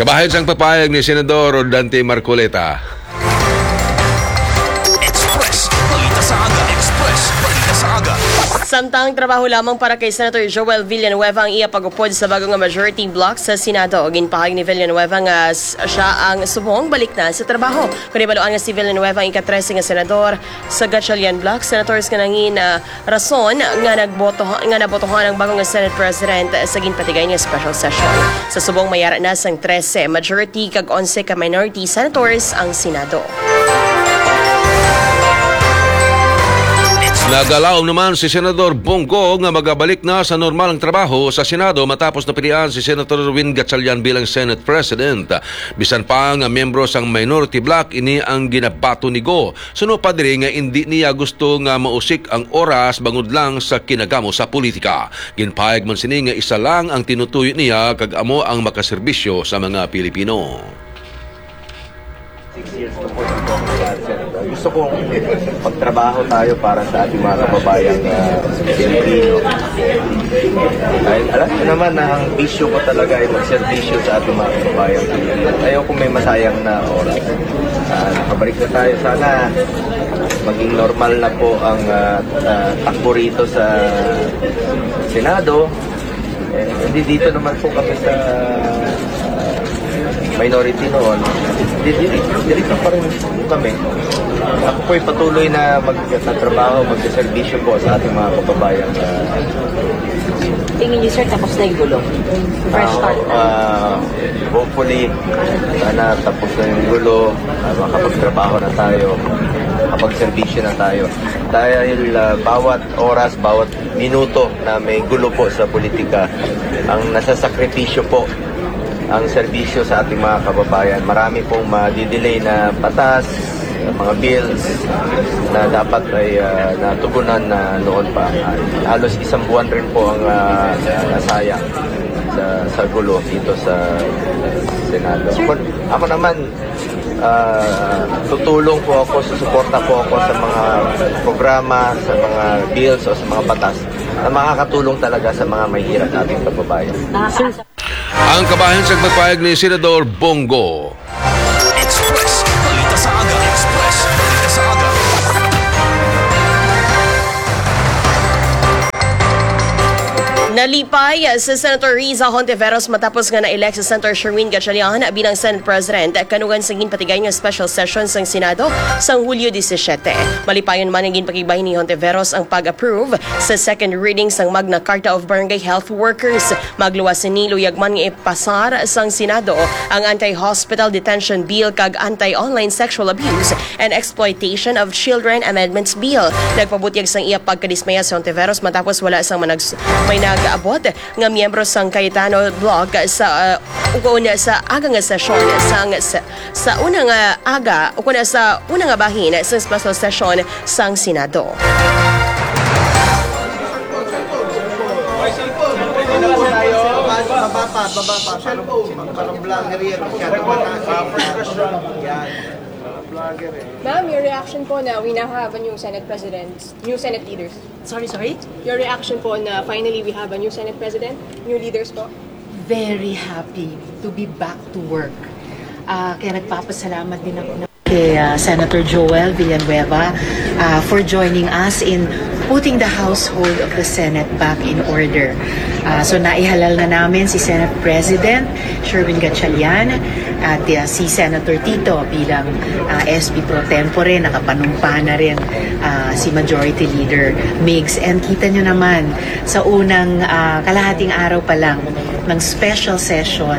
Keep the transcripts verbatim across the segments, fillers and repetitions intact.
Kabahin sang papayag ni Senador Rodante Marcoleta. Express. Balita sa aga. Express. Balita sa aga. Samtang trabaho lamang para kay Senator Joel Villanueva ang iya pag-upod sa bago nga majority bloc sa Senado. Ginpahayag ni Villanueva nga s- siya ang subong balik na sa trabaho. Kung ibaluan nga si Villanueva ang ika-trese nga senador sa Gatchalian Bloc, senators nga nangin ah, rason nga nagboto nga nabotohan ang bago nga Senate President sa ginpatigay nga special session. Sa subong mayara na sang trese majority kag onse ka minority senators ang Senado. Nagalaom naman si Senador Bong Go nga magabalik na sa normal ang trabaho sa Senado matapos napilian si Senator Erwin Gatchalian bilang Senate President. Bisan pa nga miyembro sang minority bloc, ini ang ginabaton ni Go. Suno pa diri nga indi niya gusto nga mausik ang oras bangod lang sa kinagamo sa politika. Ginpahayag man sini nga isa lang ang tinutuyo niya kag amo ang makaserbisyo sa mga Pilipino. Six years na po ng Congress, Senator. Gusto kong pagtrabaho tayo para sa ating mga kababayang uh, Pilipino. Dahil alam ko naman na ang bisyo ko talaga ay magserbisyo sa ating mga kababayang Pilipino. Ayaw kong may masayang na oras. Uh, nakabalik na tayo. Sana maging normal na po ang uh, uh, takbo rito sa Senado. Eh, hindi dito naman po kami sa minority noon. Di- di- Dito pa rin kami. Ako po'y patuloy na magtatrabaho, magseservisyo po sa ating mga kababayan. Tingin niyo, sir, tapos na yung gulo? Fresh start. Uh, hopefully, sana tapos na yung gulo, uh, makapagtrabaho na tayo, makapagserbisyo na tayo. Dahil uh, bawat oras, bawat minuto na may gulo po sa politika, ang nasasakripisyo po ang serbisyo sa ating mga kababayan. Marami pong madidelay na batas, mga bills na dapat ay uh, natugunan na noon pa. Halos isang buwan rin po ang uh, nasayang sa, sa gulo dito sa Senado. Ako, ako naman, uh, tutulong po ako, susuporta po ako sa mga programa, sa mga bills o sa mga batas na makakatulong talaga sa mga mahihirap nating kababayan. Ang kabahin sa pagpayag ni Senador Bong Go. Express Balita sa Aga. Express Balita sa Aga. Nalipay si Senator Riza Hontiveros matapos nga na-elect si Senator Sherwin Gatchalian bilang Senate President kanugan sa ginpatigay nga special session sang Senado sang Hulyo disisiete. Malipayon man nga ginpakigbahin ni Hontiveros ang pag-approve sa second reading sang Magna Carta of Barangay Health Workers. Magluwas sini luyag man nga ipasar sang Senado ang Anti-Hospital Detention Bill kag Anti-Online Sexual Abuse and Exploitation of Children Amendments Bill. Nagpabutyag sang iya pagkadismaya si Hontiveros matapos wala sang manags- may nag-abot nga miyembro sang Cayetano Bloc sa uh, ukon sa aga nga sesyon sang sa, sa una nga aga ukon sa una nga bahin sa special session sang Senado. Ma'am, your reaction po na we now have a new Senate President, new Senate leaders. Sorry, sorry? Your reaction po na finally we have a new Senate President, new leaders po? Very happy to be back to work. Uh, kaya nagpapasalamat din ako na kay uh, Senator Joel Villanueva uh, for joining us in putting the household of the Senate back in order. Uh, so naihalal na namin si Senate President Sherwin Gatchalian at uh, si Senator Tito bilang uh, S P pro tempore, nakapanumpa na rin uh, si Majority Leader Migs. And kita nyo naman, sa unang uh, kalahating araw pa lang ng special session,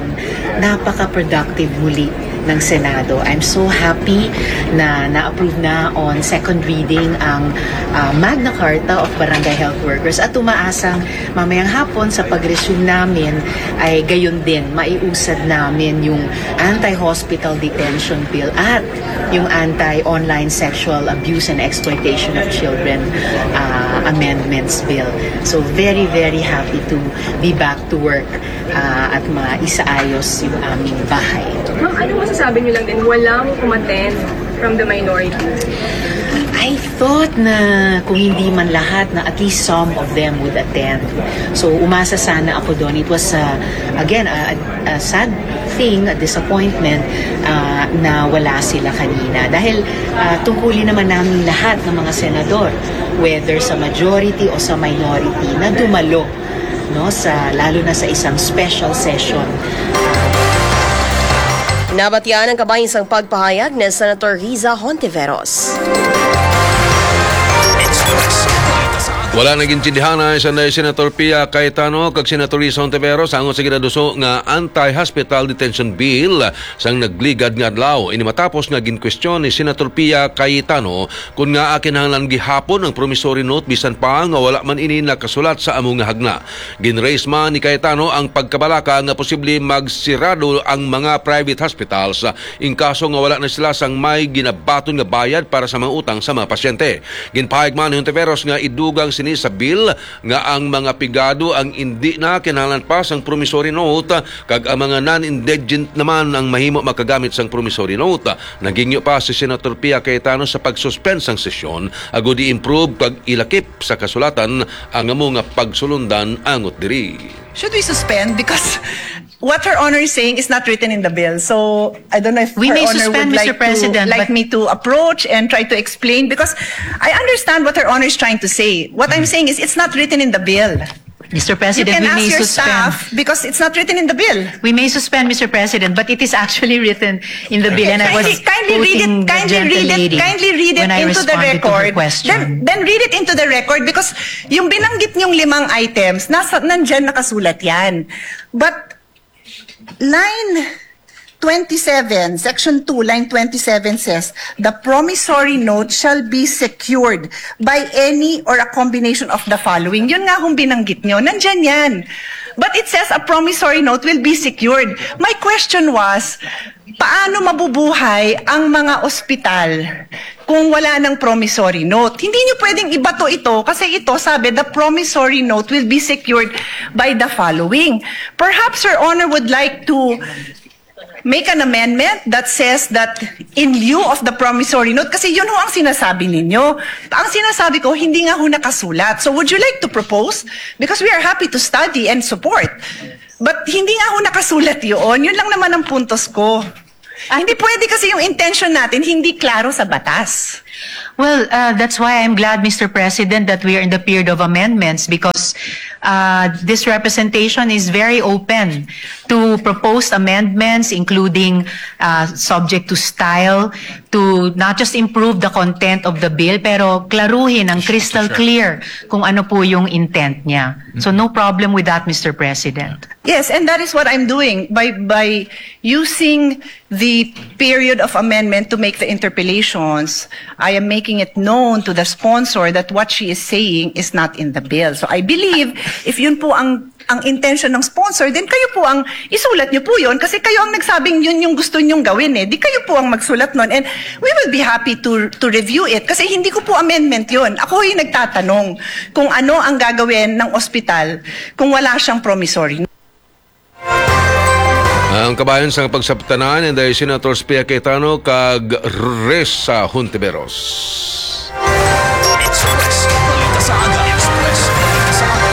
napaka-productive muli ng Senado. I'm so happy na na-approve na on second reading ang uh, Magna Carta of Barangay Health Workers at umaasang mamayang hapon sa pag-resume namin ay gayon din maiusad namin yung anti-hospital detention bill at yung anti-online sexual abuse and exploitation of children uh, amendments bill. So very, very happy to be back to work uh, at maisaayos yung aming bahay. Ma'am, ano masasabi niyo lang din? Walang umattend from the minority? I thought na kung hindi man lahat, na at least some of them would attend. So umasa sana ako doon. It was, uh, again, a, a sad thing, a disappointment uh, na wala sila kanina. Dahil uh, tungkulin naman namin lahat ng mga senador, whether sa majority o sa minority, na dumalo no, sa, lalo na sa isang special session. Nabatian ang kabahin sang pagpahayag ni Senator Riza Hontiveros. Express Balita sa Aga. Wala na gintindihanay sa Senator Pia Cayetano kag Senator Risa Hontiveros angot sa ginaduso nga anti-hospital detention bill sang nagligad nga adlaw. Ini matapos nga ginkwestiyon ni Senator Pia Cayetano kon ngaa kinahanglan gihapon ang promissory note bisan pa nga wala man ini nakasulat sa amo nga hagna. Gin-raise man ni Cayetano ang pagkabalaka nga posible magsirado ang mga private hospitals in kaso nga wala na sila sang may ginabaton nga bayad para sa mga utang sa mga pasyente. Ginpahayag man ni Hontiveros nga idugang sini sa bill nga ang mga pigado ang indi na kinahanglan pa sang promissory note kag ang mga non-indigent naman ang mahimo makagamit sang promissory note. Naghingyo pa si Senator Pia Cayetano sa pag-suspend sang sesyon agud i-improve kag ilakip sa kasulatan ang amo nga pagsulundan angot diri. Should we suspend? Because what Her Honor is saying is not written in the bill. So I don't know if We Her may Honor suspend, would like Mister President, to like but- me to approach and try to explain, because I understand what Her Honor is trying to say. What I'm saying is it's not written in the bill. Mister You President, can we ask may your suspend. Staff because it's not written in the bill. We may suspend, Mister President, but it is actually written in the bill, and I was Kindly, kindly read quoting it. the Kindly read gentle it. Lady Kindly read it when I into the responded to her record. Question. Then, then read it into the record, because yung binanggit niyong limang items, nasa nandyan nakasulat yan. But line twenty-seven, section two, line twenty-seven says, "The promissory note shall be secured by any or a combination of the following." Yun nga hong binanggit nyo, nandyan yan. But it says a promissory note will be secured. My question was, paano mabubuhay ang mga ospital kung wala ng promissory note? Hindi nyo pwedeng ibato ito kasi ito, sabi, "The promissory note will be secured by the following." Perhaps Her Honor would like to make an amendment that says that in lieu of the promissory note, kasi yun ho ang sinasabi ninyo. Ang sinasabi ko, hindi nga ho nakasulat. So would you like to propose? Because we are happy to study and support. But hindi nga ho nakasulat yun. Yun lang naman ang puntos ko. Hindi pwede kasi yung intention natin hindi klaro sa batas. Well, uh, that's why I'm glad, Mister President, that we are in the period of amendments because uh, this representation is very open to proposed amendments, including uh, subject to style, to not just improve the content of the bill, pero klaruhin ang crystal clear kung ano po yung intent niya. So no problem with that, Mister President. Yes, and that is what I'm doing by by using the period of amendment to make the interpellations. I am making it known to the sponsor that what she is saying is not in the bill. So I believe if yun po ang ang intention ng sponsor, then kayo po ang isulat niyo po yun kasi kayo ang nagsabing yun yung gusto niyong gawin eh. Di kayo po ang magsulat nun and we will be happy to to review it kasi hindi ko po amendment yun. Ako yung nagtatanong kung ano ang gagawin ng ospital kung wala siyang promissory. Ang kabayan sang pagsabtanan, inday Senators Pia Cayetano kag Risa Hontiveros. Express. Balita sa aga. Express. Balita sa aga.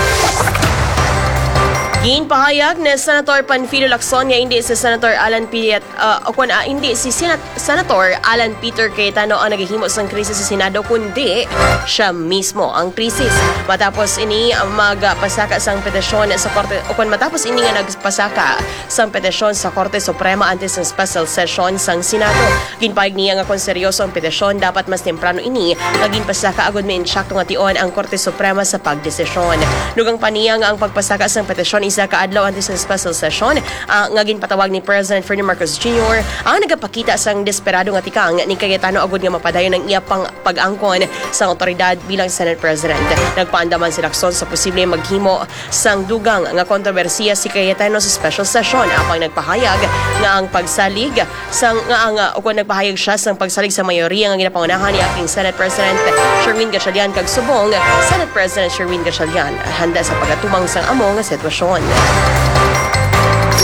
Ginpahayag ni Senator Panfilo Lacson nga hindi si Senator Alan Piet, uh, o kun, uh, hindi si Senat- Senator Alan Peter Cayetano ang nagahimo sang krisis sa Senado, kundi siya mismo ang krisis. Matapos ini magpasaka sang petisyon sa korte, o kun matapos ini nga nagpasaka sang petisyon sa Korte Suprema antes sang special session sang Senado. Ginpahayag niya nga kon seryoso ang petisyon, dapat mas temprano ini nga ginpasaka agud maintsakto nga tion ang Korte Suprema sa pagdesisyon. Dugang pa niya nga ang pagpasaka sang petisyon isa ka adlaw antes sang special session, ah, nga ginpatawag ni President Ferdinand Marcos Junior ang nagapakita sang desperado nga tikang ni Cayetano agud nga mapadayon ang iya pang pag-angkon sang awtoridad bilang Senate President. Nagpaandaman si Lacson sa posible maghimo sang dugang nga kontrobersiya si Cayetano sa special session, apang nagpahayag nga ang pagsalig sang nga ang, uh, ukon nagpahayag siya sang pagsalig sa mayoriya nga ginapangunahan ni Acting Senate President Sherwin Gatchalian kag subong Senate President Sherwin Gatchalian handa sa pagatumang sang amo nga sitwasyon.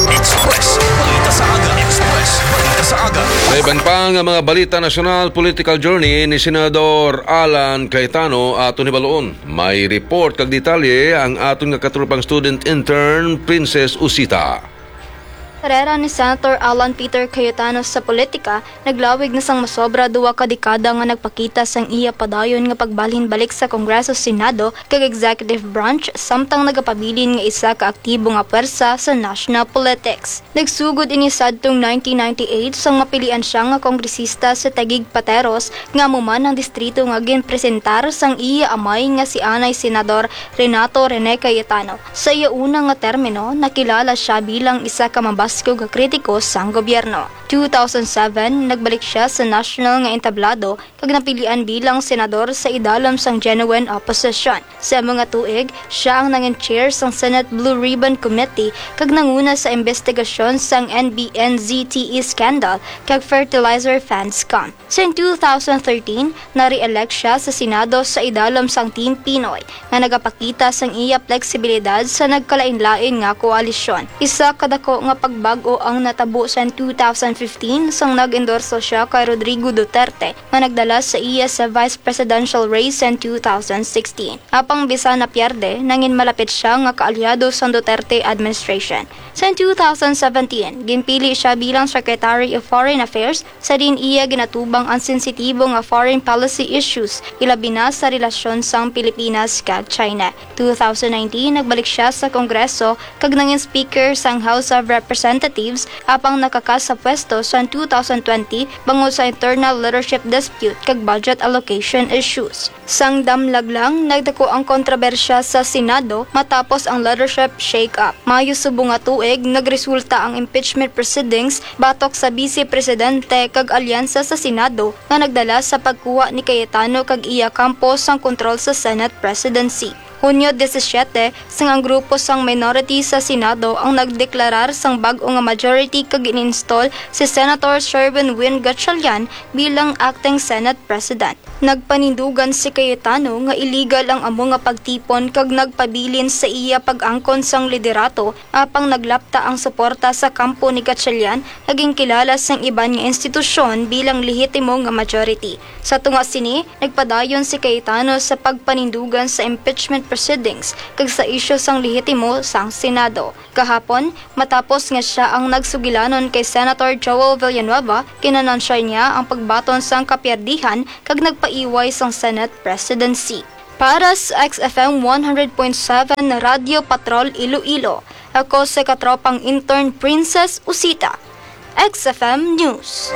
Express. Balita sa aga. Express. Balita sa aga. Sa iban pa nga mga balita nasyonal, political journey ni Senador Alan Cayetano aton hibaluon. May report kag detalye ang aton nga katropang student intern, Princess Usita. Karera ni Senator Alan Peter Cayetano sa politika naglawig na sang masobra duha ka dekada nga nagpakita sang iya padayon nga pagbalhin balik sa Kongreso, Senado, kag executive branch, samtang nagapabilin nga isa ka aktibo nga pwersa sa national politics. Nagsugod ini sadtong nineteen ninety-eight sang mapilian siya nga kongresista sa Taguig Pateros, nga amo man ang distrito nga ginpresentar sang iya amay nga si anay Senador Renato Rene Cayetano. Sa iya una nga termino, nakilala sia bilang isa ka mabaskog nga kritiko sang gobyerno. Two thousand seven, nagbalik sia sa national nga entablado kag napilian bilang senador sa idalom sang genuine opposition. Sa amo nga tuig, sia ang nangin chair sang Senate Blue Ribbon Committee kag nanguna sa imbestigasyon sang N B N Z T E scandal kag fertilizer fund scam. Sa two thousand thirteen, na-re-elect sia sa Senado sa idalom sang Team Pinoy, nga nagapakita sang iya fleksibilidad sa nagkalain-lain nga koalisyon. Isa ka dako nga pagbag-o ang natabo sa two thousand fifteen, sang nag-endorso sia kay Rodrigo Duterte, nga nagdala sa iya sa vice presidential race sa two thousand sixteen. Apang bisan napierde, nangin malapit sia nga kaalyado sang Duterte administration. Sa two thousand seventeen, ginpili sia bilang Secretary of Foreign Affairs, sa diin iya ginatubang ang sensitibo nga foreign policy issues, ilabi na sa relasyon sang Pilipinas kag China. Two thousand nineteen, nagbalik sia sa Kongreso kag nangin Speaker sang House of Representatives, apang nakakas sa pwesto sa two thousand twenty bangod sa internal leadership dispute kag budget allocation issues. Sang damlag lang, nagdako ang kontrobersya sa Senado matapos ang leadership shake-up. Mayo subong nga tuig, nagresulta ang impeachment proceedings batok sa Vice Presidente kag alyansa sa Senado nga nagdala sa pagkuha ni Cayetano kag iya kampo sang kontrol sa Senate presidency. Hunyo disisiete, sang ang grupo sang minority sa Senado ang nagdeklarar sang bag-o nga majority kag gin-install si Senator Sherwin Win Gatchalian bilang acting Senate President. Nagpanindugan si Cayetano nga illegal ang amo nga pagtipon kag nagpabilin sa iya pag-angkon sang liderato, apang naglapta ang suporta sa kampo ni Gatchalian nga ginkilala sang iban nga institusyon bilang lehitimo nga majority. Sa tunga sini, nagpadayon si Cayetano sa pagpanindugan sa impeachment proceedings kag sa isyu sang lehitimo sang Senado. Kahapon, matapos nga sia ang nagsugilanon kay Senator Joel Villanueva, kinanansya niya ang pagbaton sang kapiyerdihan kag nagpaiway sang Senate presidency. Para sa X F M one hundred point seven Radyo Patrol Iloilo, ako sa katropang intern Princess Usita. X F M News.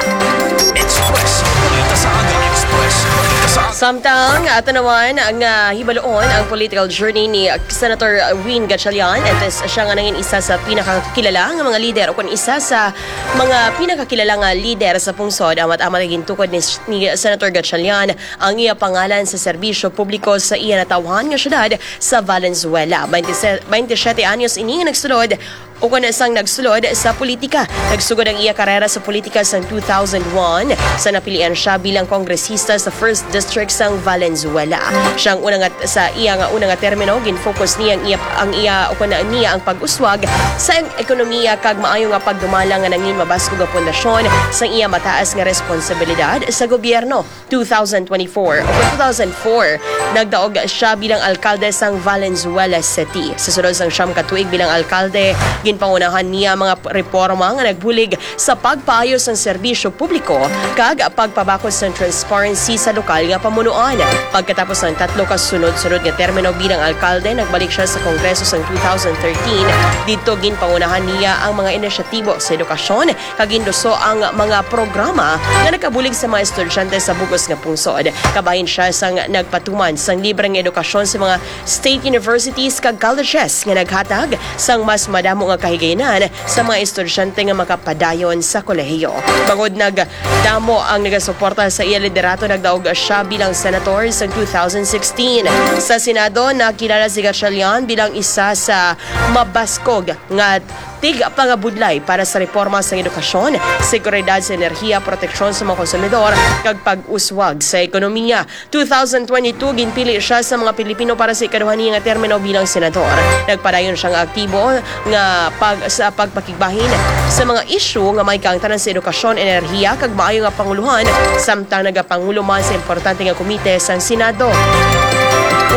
Express. Balita sa aga. Express. Balita sa aga. Samtang, ah, tan-awan nga hibaloon ang political journey ni Senator Win Gatchalian, antes siya nga nangin isa sa pinakakilala nga mga lider o kon isa sa mga pinakakilala nga lider sa pungsod, amat-amat nga gintukod ni, ni Senator Gatchalian ang iya pangalan sa serbisyo publiko sa iya natawhan nga syudad sa Valenzuela. Twenty-seven, twenty-siyete anyos ini nga nagsulod o kon sang nagsulod sa politika. Nagsugod ang iya karera sa politika sang two thousand one sa napilian siya bilang kongresista sa First District sang Valenzuela. Siya ang una nga, sa iya nga una nga termino, gin-focus niya ang iya, ang iya o kon niya ang pag-uswag sa ekonomiya kag maayo nga pagdumala nga nangin mabaskog nga pundasyon sang iya mataas nga responsibilidad sa gobyerno. Two thousand twenty-four o two thousand four, nagdaog siya bilang alkalde sang Valenzuela City. Sa sulod sang siyam ka tuig bilang alkalde, ginpangunahan niya ang mga p-, reporma nga nagbulig sa pagpaayo sang serbisyo publiko kag pagpabakod sang transparency sa lokal nga pamunuan. Pagkatapos sang tatlo ka sunod-sunod nga termino bilang alkalde, nagbalik siya sa Kongreso sang two thousand thirteen. Didto, ginpangunahan niya ang mga inisyatibo sa edukasyon, kag ginluso ang mga programa nga nakabulig sa mga estudyante sa bug-os nga pungsod. Kabahin siya sang nagpatuman sang libre nga edukasyon sa mga state universities kag colleges nga naghatag sang mas madamo nga kahigayonan sa mga estudyante nga makapadayon sa kolehiyo. Bangod nagdamo ang nagasuporta sa iya liderato, nagdaog siya bilang senator sa two thousand sixteen. Sa Senado, nakilala si Gatchalian bilang isa sa mabaskog nga tigpangabudlay para sa reporma sa edukasyon, seguridad sa enerhiya, proteksyon sa mga konsumidor, kag pag-uswag sa ekonomiya. Two thousand twenty-two, ginpili siya sa mga Pilipino para sa ikaduha niya nga termino bilang senador. Nagpadayon siya nga aktibo nga pag-, sa pagpakigbahin sa mga isyu nga may kaangtanan sa edukasyon, enerhiya, kag maayo nga panguluhan, samtang nagapangulo man sa importante nga komite sang Senado.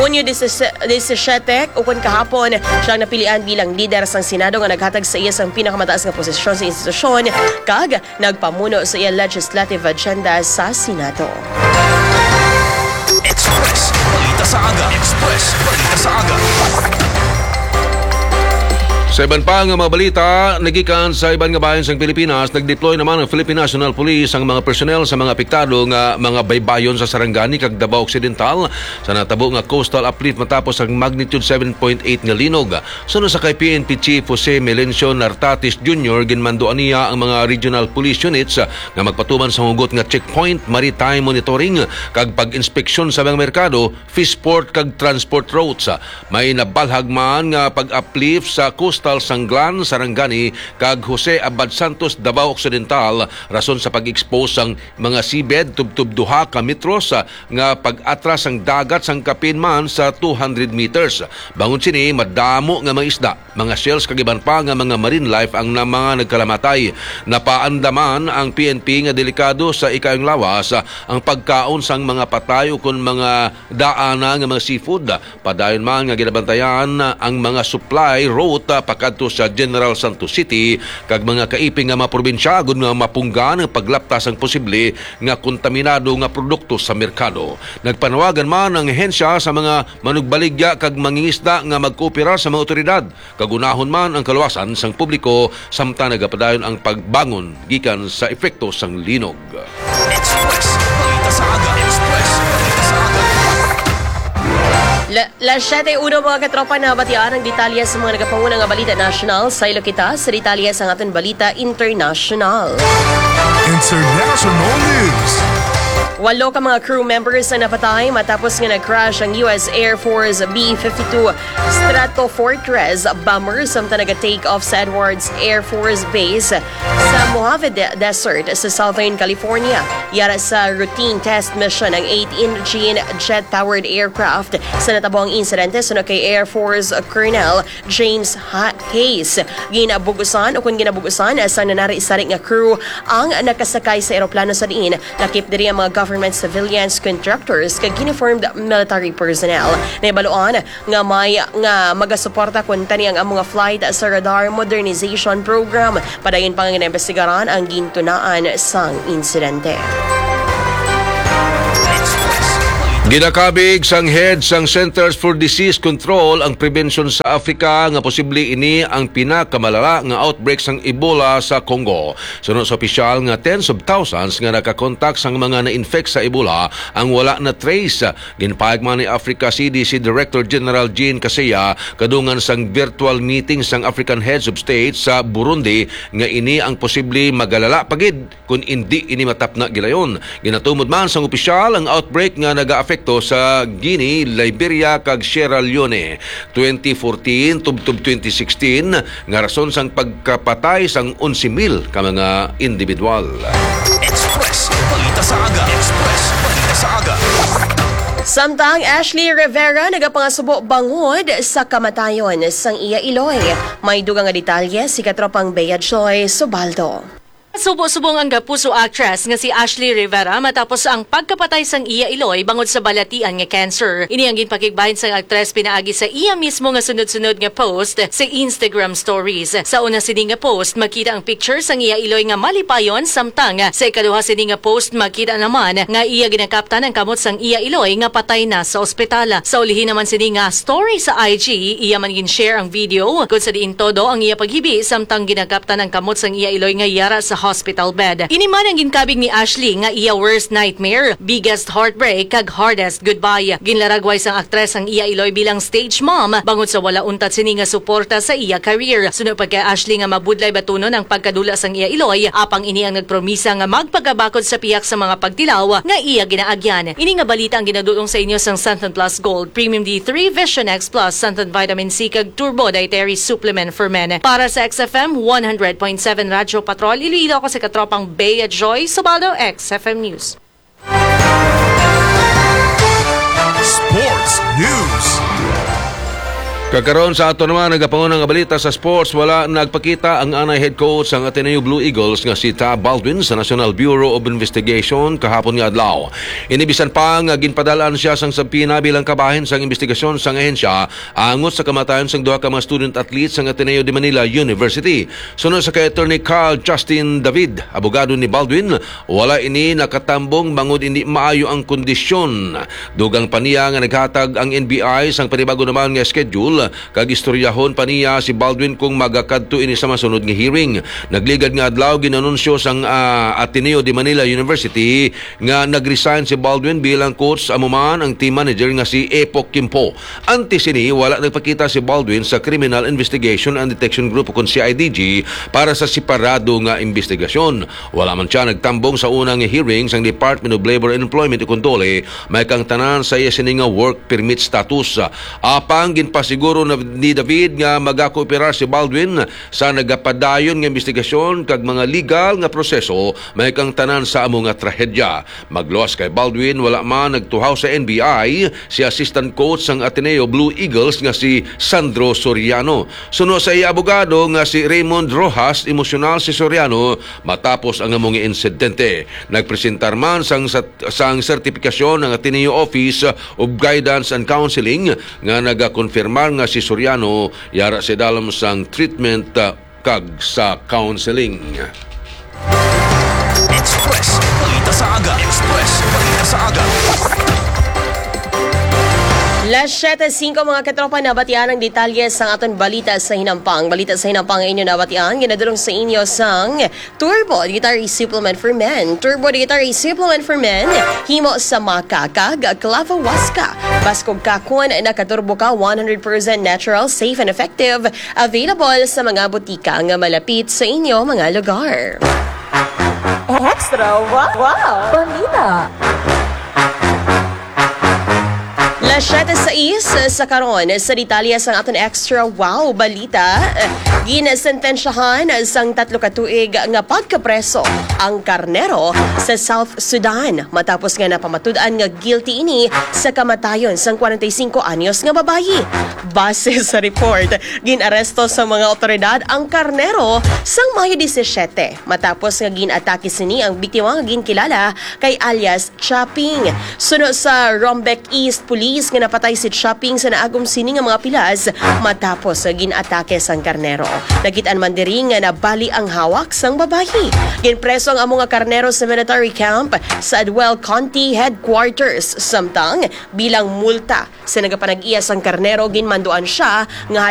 Hunyo disisiete, ukon kahapon, siyang napilian bilang lider sang Senado nga naghatag sa iya sang pinakamataas nga posisyon sa institusyon kag nagpamuno sa iya legislative agenda sa Senado. Express Balita sa Aga. Express Balita sa Aga. Sa iban pa nga mga balita, nagikan sa iban nga bahin sang Pilipinas, nag-deploy naman ang Philippine National Police ang mga personnel sa mga apektado nga mga baybayon sa Sarangani kag Davao Occidental sa natabo nga coastal uplift matapos ang magnitude seven point eight nga linog. Suno sa kay P N P Chief Jose Melencio Nartatis Junior, ginmanduan niya ang mga regional police units nga magpatuman sa hugot nga checkpoint, maritime monitoring, kag pag-inspeksyon sa mga merkado, fishport kag transport routes. May nabalhag man nga pag-uplift sa coastal sang Glan, Sarangani, kag Jose Abad Santos, Davao Occidental, rason sa pag-expose sang mga seabed tubtob duha ka metros, ah, nga pag-atras sang dagat sang kapin man sa two hundred meters. Bangon sini, madamo nga mga isda, mga shells kag iban pa nga mga marine life ang na mga nagkalamatay. Napaandaman ang P N P nga delikado sa ikayong lawas, ah, ang pagkaon sang mga patay ukon mga daana nga mga seafood. Padayon man nga ginabantayan ang mga supply route, ah, pakadto sa General Santos City kag mga kaiping nga mga probinsya agod nga mapunggan ang paglapta sang posible nga kontaminado nga produkto sa merkado. Nagpanawagan man ang ahensya sa mga manugbaligya kag mangingisda nga magkooperar sa mga awtoridad kag unahon man ang kaluwasan sang publiko samtang nagapadayon ang pagbangon gikan sa epekto sang linog. Express Balita sa Aga. Express Balita sa Aga. La, las siete uno, mga katropa, na batian ang detalye sa mga nagapanguna nga balita nasyonal. Saylo kita sa detalye sa aton balita internasyonal. International News. Walo ka mga crew members ang napatay matapos nga nag-crash ang U S Air Force B fifty-two Stratofortress bomber samtang naga-take off sa Edwards Air Force Base sa Mojave De- Desert sa Southern California. Yara sa routine test mission ang eight-engine jet-powered aircraft sa natabo ang insidente suno kay Air Force Colonel James Ha- Hayes. Ginabugusan o kung ginabugusan sa nanari-sari nga crew ang nakasakay sa eroplano sa diin lakip diri ang mga government civilians, contractors, kag uniformed military personnel. Nahibaluan nga may nga magasuporta kuntani ang amo nga flight sa radar modernization program. Padayon pa nga ginaimbestigaran ang gintunaan sang insidente. Ginakabig sang head sang Centers for Disease Control ang prebensyon sa Africa nga posible ini ang pinakamalala nga outbreak sang Ebola sa Congo. Suno sa opisyal nga tens of thousands nga nakakontak sang mga na-infect sa Ebola ang wala na trace. Ginpahayag man ni Africa C D C Director General Jean Kaseya kadungan sang virtual meeting sang African Heads of State sa Burundi nga ini ang posible magalala pa gid kon indi ini matapna gilayon. Ginatumod man sang opisyal ang outbreak nga nagaapekto sa Guinea, Liberia, kag Sierra Leone. Twenty fourteen tubtob twenty sixteen nga rason sang pagkapatay sang onse mil ka mga individual. Express Balita sa Aga. Express Balita sa Aga. Samtang Ashley Rivera nagapangasubo bangod sa kamatayon sang iya iloy. May dugang nga detalye si katropang Bea Joy Subaldo. Subo-subong ang gapuso actress nga si Ashley Rivera matapos ang pagkapatay sang iya iloy bangod sa balatian nga cancer. Ini ang ginpakigbahin sang aktres pinaagi sa iya mismo nga sunod-sunod nga post sa Instagram stories. Sa una sini nga post, makita ang picture sang iya iloy nga malipayon, samtang sa ikaduha sini nga post, makita naman nga iya ginakaptan ang kamot sang iya iloy nga patay na sa ospital. Sa ulihi naman sini nga story sa I G, iya man gin-share ang video kung sa diin todo ang iya paghibi samtang ginakaptan ang kamot sang iya iloy nga yara sa hospital bed. Ini man ang ginkabig ni Ashley nga iya worst nightmare, biggest heartbreak, kag hardest goodbye. Ginlaragway sang aktres ang iya iloy bilang stage mom bangod sa wala untat sini nga suporta sa iya career. Suno pa kay Ashley nga mabudlay batunon ang pagkadula sang iya iloy, apang ini ang nagpromisa nga magpagabakod sa pihak sa mga pagtilaw nga iya ginaagyan. Ini nga balita ang ginadul-ong sa inyo sang Santon Plus Gold, Premium D three, Vision X Plus, Santon Vitamin C, kag Turbo Dietary Supplement for Men. Para sa X F M one hundred point seven Radyo Patrol Iloilo, ako si katropang Bea Joy Subaldo, X F M News. Sports News. Kakaron sa ato naman nagapanguna nga balita sa sports, wala nagpakita ang anay head coach sang Ateneo Blue Eagles nga si Tab Baldwin sa National Bureau of Investigation kahapon nga adlaw. Ini bisan pa nga ginpadal-an siya sang subpoena bilang kabahin sang investigasyon sang ahensya angot sa kamatayon sang duha ka mga student athletes sang Ateneo de Manila University. Suno sa kay Attorney Carl Justin David, abogado ni Baldwin, wala ini nakatambong bangod hindi maayo ang kondisyon. Dugang pa niya nga naghatag ang N B I sang panibago naman nga schedule kag istoryahon pa niya si Baldwin kung magakadto ini sa masunod nga hearing. Nagligad nga adlaw ginanunsyo sang, ah, Ateneo de Manila University nga nag-resign si Baldwin bilang coach, amo man ang team manager nga si Epo Kimpo. Antes sini, wala nagpakita si Baldwin sa Criminal Investigation and Detection Group o kon C I D G para sa separado nga investigasyon. Wala man siya nagtambong sa unang hearing sang Department of Labor and Employment o kon DOLE, may kang tanan sa iya sini nga work permit status. Apang ginpasiguro na ni David nga magakooperar si Baldwin sa nagapadayon nga investigasyon kag mga legal nga proseso, may kang tanan sa amo nga trahedya. Magluwas kay Baldwin, wala man nagtuhaw sa N B I si assistant coach sang Ateneo Blue Eagles nga si Sandro Soriano. Suno sa iya abogado nga si Raymond Rojas, emosyonal si Soriano matapos ang amo nga insidente. Nagpresentar man sang, sang sertifikasyon ang Ateneo Office of Guidance and Counseling nga nagakonfirmar nga si Soriano yara sa dalom sang treatment, ah, kag sa counseling. Express Balita sa Aga. Express Balita sa Aga. Las siete singko, mga katropa, nabatian ang detalye sa aton balita sa hinampang. Balita sa hinampang ang inyo nabatian, ginadulong sa inyo sang Turbo Dietary Supplement for Men. Turbo Dietary Supplement for Men, himo sa maca kag clavo huasca. Baskog ka kon nakaturbo ka, one hundred percent natural, safe and effective. Available sa mga butika nga malapit sa inyo mga lugar. Extra wow, wow. Balita. Las siete sais sa karon, sa detalye sang aton Extra Wow Balita. Ginsentensyahan sang tatlo ka tuig nga pagkapreso ang karnero sa South Sudan matapos nga napamatud-an nga guilty ini sa kamatayon sang kwarenta y singko anyos nga babayi. Base sa report, gin-aresto sa mga awtoridad ang karnero sang Mayo disisiete matapos nga gin-atake sini ang biktima nga ginkilala kay alias Chaping. Suno sa Rumbek East Police nga napatay si Chaping sa naagom sini nga mga pilas matapos nga gin-atake sang karnero. Nakit-an man diri nga nabali ang hawak sang babayi. Ginpreso ang amo nga karnero sa military camp sa Adwell County Headquarters, samtang bilang multa sa nagapanag-iya sang karnero, ginmanduan sia nga